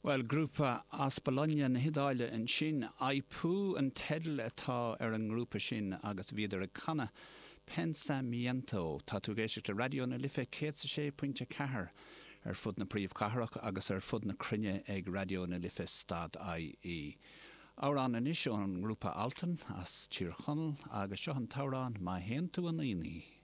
Bhuel, grúpa as Bologna na hIodáile ansin. I Pooh an teideal atá ar an ngrúpa sin agus bhíodar ag canadh Pensamiento. Tá tú ag éisteacht le Raidió na Life 106.4 ar fud na príomhchathrach agus ar fud na cruinne ag Raidió na Life stad IE. Amhrán anois ón ngrúpa Altan as Tír Chonaill agus seo an t-amhrán Má Théann Tú 'Un Aonaigh.